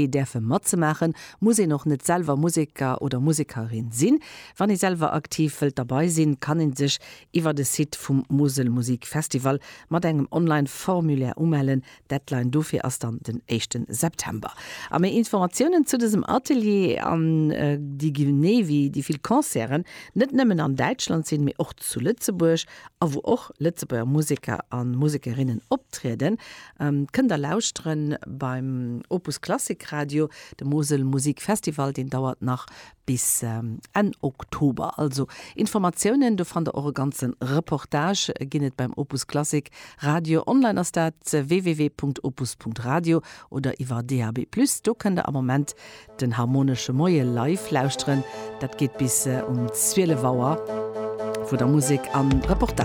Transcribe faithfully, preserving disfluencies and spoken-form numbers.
Däerfe matzemaachen, muss een och net selwer Museker oder Musekerin sinn. Wann ee selwer aktiv wëllt derbäi sinn, kann een sech iwwer de Site vum Musel Musik Festival mat engem Online-Formulaire umellen. Deadline dofir ass dann den éischte September. A méi Informatiounen zu dësem Atelier an äh, déi genee wéi déi vill Concerten net nëmmen an Däitschland sinn, mee och zu Lëtzebuerg, a wou och Lëtzebuerger Museker a Musekerinnen optrieden, ähm, kënnt der lauschteren beim Opus Klassik Radio. De Mosel Musik Festival, deen dauert nach bis ähm, Enn Oktober. Also Informatiounen, do fannt der och e ganze Reportage ginn et beim Opus Klassik Radio. Online ass dat www.opus.radio oder iwwer D A B plus. Do kënnt der am Moment den Harmonesche Moie live lauschteren. Dat geet bis äh, um zwielef Auer, wou der Musek an Reportage